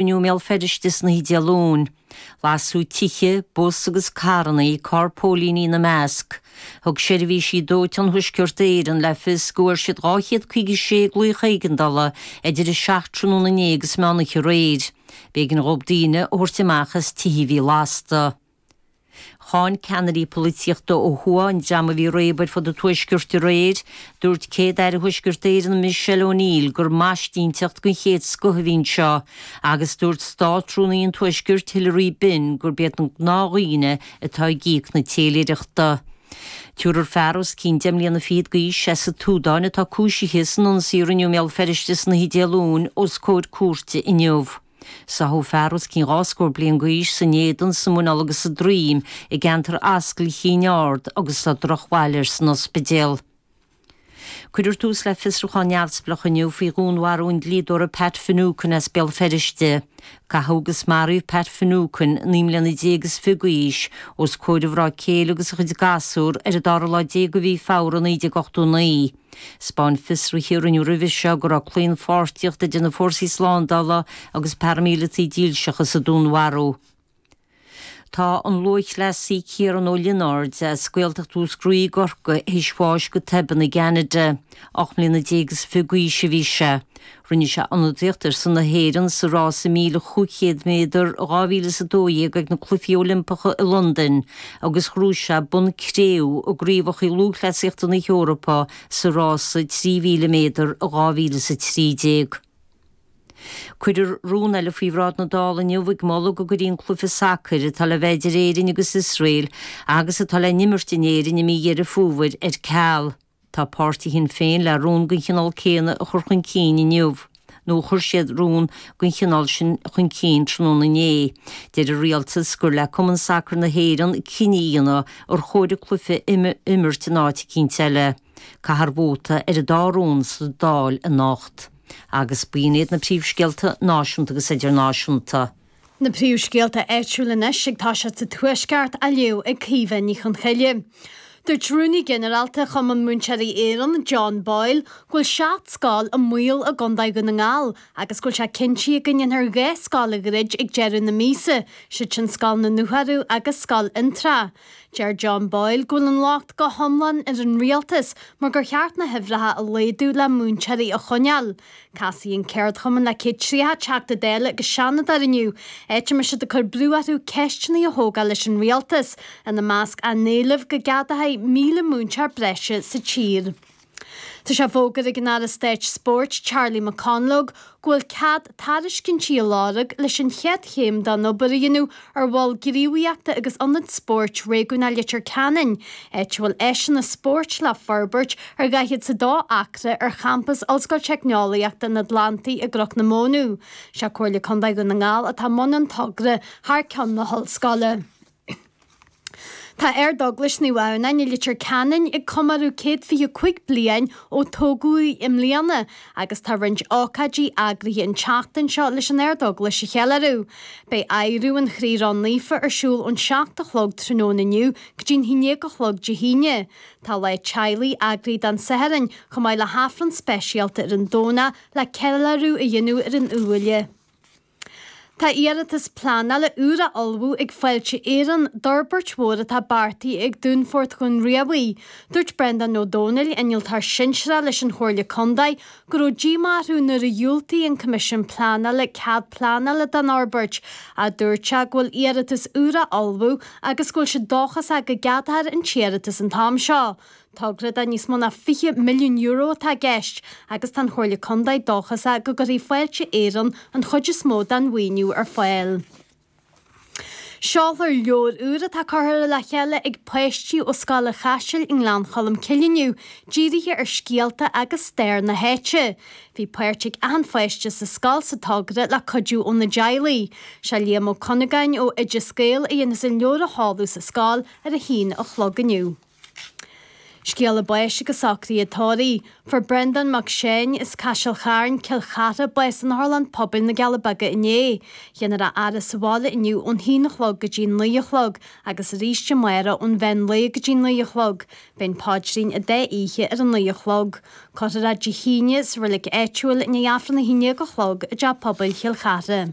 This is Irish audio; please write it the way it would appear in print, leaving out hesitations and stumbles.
Rinneadh i mBéal Feirste san oíche Dé Luain. Lasadh tithe, bus agus carranna, carr póilíní ina measc. Thug seirbhísí dóiteáin Thuaisceart Éireann le fios go bhfuair siad 256 glaoch éigeandála idir 7 tráthnóna inné agus meán oíche aréir. B'éigean dhóibh daoine a thabhairt amach as tithe a bhí lasta. Cháin ceannairí polaitíochta ó thuaidh an dream a bhí ag réabadh ar fud an tuaiscirt aréir. Dúirt Céad-Aire Thuaisceart Éireann Michelle O'Neill gur maistinteacht den chéad scoth a bhí anseo agus dúirt Státrúnaí an Tuaiscirt Hilary Benn gurb iad na gnáthdhaoine atá ag íoc na téiléireachta. Triúr fear os cionn deich mbliana fichead d'aois as an tSúdáin atá cúisithe san ionsaí a rinneadh i mBéal Feirste san oíche Dé Luain os comhair cúirte inniu. Sáthadh fear os cionn 20 scór bliain d'aois san éadan, sa muineál agus sa droim i gceantar Ascaill Chinn Ard agus tá drochbhail air san ospidéal. Cuirfear tús le fiosrúchán neamhspleách inniu faoi dhúnmharú an dlíodóra Pat Finucane as Béal Feirste. Caitheadh agus maraíodh Pat Finucane, 19 mbliana is 20 d'aois, os comhair a mhná céile agus a chuid gasúr ar an dara lá déag de mhí Feabhra 1989. 'Spáin fiosruithe a rinneadh roimhe seo go raibh claonpháirtíocht idir na fórsaí slándála agus paraimíleataigh dílseacha sa dúnmharú. Tá an lúthchleasaí Ciarán Ó Lionáird as Gaeltacht Mhúscraí i gCorcaigh théis bháis go tobann i gCeanada. 18 mbliana is 20 d'aois a bhí sé. Rinne sé ionadaíocht ar son na hÉireann sa rása 1,500 méadar i 2012 ag na Cluichí Oilimpeacha i Londain agus ghnóthaigh sé bonn cré-umha i gCraobhacha Lúthchleasaíochta na hEorpa sa rása 3,000 méadar i 2013. Cuirfear rún eile faoi bhráid na Dála inniu ag moladh go gcuirfí an cluiche sacair atá le bheith idir Éirinn agus Iosrael agus atá le n-imirt in Éirinn i mí Dheireadh Fómhair ar ceal. Tá páirtí Shinn Féin le rún den chineál céanna a chur chun cinn inniu, nó chuir siad rún den chineál sin chun cinn tráthnóna inné. Deir an rialtas gur le Cumann Sacair na hÉireann cinneadh a dhéanamh ar chóir an cluiche a imirt in áit eicínt eile. Caithfear vóta ar an dá rún sa Dáil anocht. Agus b'in iad na príomhscéalta náisiúnta agus idirnáisiúnta. Na príomhscéalta áitiúla anois ag toiseacht sa Tuaisceart á léamh ag Caoimhe Ní Chonchoille. Dúirt Rúnaí Ginearálta Chumann Múinteoirí Éireann, John Boyle, go bhfuil 7 scoil i mbaol i gContae Dhún na nGall agus go bhfuil sé cinntithe go ndéanfar 2 scoil a dhruid ag deireadh na míosa, siad sin Scoil na nDúchearú agus Scoil Fhionntrá. Deir John Boyle go bhfuil an locht go hiomlán ar an rialtas mar gur cheart na huimhreacha a laghdú le múinteoirí a choinneáil. Casfaidh an ceardchumann le 130 Teachta Dála agus Seanadóir inniu, áit a mbeidh siad ag cur brú orthu ceisteanna a thógáil leis an rialtas, ina measc á n-éileamh go gceadófaí 1,000 múinteoir breise sa tír. Tá sé fógartha ag an Aire Stáit Spóirt Charlie McConalogue go bhfuil cead tairiscintí á lorg leis an chéad chéim den obair a dhéanamh ar mhol gníomhaíochta agus ionad spóirt réigiúnach Leitir Ceanainn, áit a bhfuil áiseanna spóirt le forbairt ar 42 acra ar champas Ollscoil Teicneolaíochta an Atlantaigh i gCnoc na Mónadh. Sé Comhairle Contae Dhún na nGall atá i mbun an togra thar ceann na hollscoile. Tá Ardeaglais Naomh Adhamhnáin i Leitir Ceanainn ag comóradh 125 bliain ó tógadh í i mbliana agus tá roinnt ócáidí eagraithe an tseachtain seo leis an Ardeaglais a cheiliúradh. Beidh adhradh an Chroí Ró-Naofa ar siúl ón 7 a chlog tráthnóna inniu go dtí'n 11 a chlog Dé hAoine. Tá lá teaghlaigh eagraithe don Satharn chomh maith le hAifreann speisialta ar an Domhnach le ceiliúradh a dhéanamh ar an Iúbhaile. Tá iarratas pleanála úr á ullmhú ag Fáilte Éireann d'fhorbairt mhór atá beartaithe ag Dúnfort Dhún Riabhaigh. Dúirt Breandán Ó Domhnaill, innealtóir sinsearach leis an Chomhairle Contae, go raibh díomá orthu nuair a dhiúltaigh an Coimisiún Pleanála cead pleanála don fhorbairt, ach dúirt sé go bhfuil iarratas úr á ullmhú agus go bhfuil siad dóchasach go gceadófar an t-iarratas an t-am seo. Togra de níos mó ná €20 milliún atá i gceist agus tá an Chomhairle Contae dóchasach go gcuirfidh Fáilte Éireann an chuid is mó den mhaoiniú ar fáil. Seolfar leabhar úr atá curtha le chéile ag páistí ó Scoil an Chaisil i nGleann Cholm Cille inniu, dírithe ar scéalta agus stair na háite. Bhí páirt ag achan pháiste sa scoil sa togra le cuidiú óna dteaghlaigh. Sé Liam Ó Cunagáin ó Oideas Gael a dhéanfas an leabhar a sheoladh sa scoil ar a haon a chlog inniu. Scéala báis agus socruithe tórraimh. Fuair Breandán Mac Seáin as Caiseal Chairn, Cill Chartha, bás in Otharlann Pobail na gCealla Beaga inné. Dhéanfar a fhaire sa bhaile inniu ón haon a chlog go dtí an naoi a chlog agus arís amárach ón mheán lae go dtí an naoi a chlog. Beidh an paidrín an dá oíche ar an naoi a chlog. Cuirfear é Dé hAoine sa reilig áitiúil i ndiaidh Aifreann a haon déag a chlog i dTeach Pobail Chill Chartha.